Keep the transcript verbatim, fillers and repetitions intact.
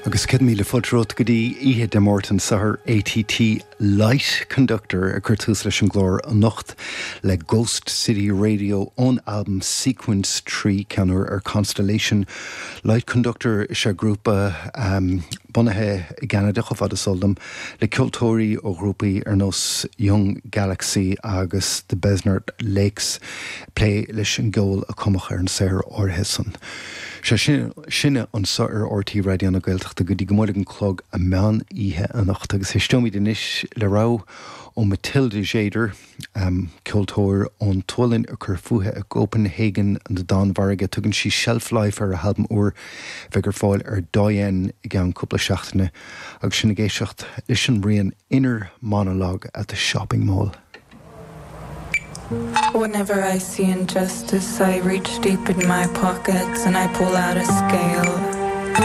Agus céad míle fáilte romhat go dtí oíche Dé Máirt anseo ar ATT Light Conductor ag cur tús leis an gclár anocht le Ghost City Radio ón album Sequence trí ceann úr ar Constellation. Light Conductor is ea grúpa um, bunaithe i gCeanada chomh fada is eol dom le ceoltóirí ó ghrúpaí ar nós Young Galaxy agus The Besnard Lakes plé leis an gceol a cumadh ar an saothar áirithe san. Sé sin sinne anseo ar RTÉ Raidió na Gaeltachta go dtí go mbuailfidh an clog a meán oíche anocht agus éisteoimid anois le rogha ó Matilda Tjäder, um, ceoltóir ón tSualainn a chuir fúithi i gCopenhagen na Danmhairge tugann sí Shelf Life ar a halbam úr bheidh ar fáil ar Doyen i gceann cúpla seachtaine agus sinn ag éisteacht leis an rian Inner Monologue at the Shopping Mall. Whenever I see injustice, I reach deep in my pockets and I pull out a scale.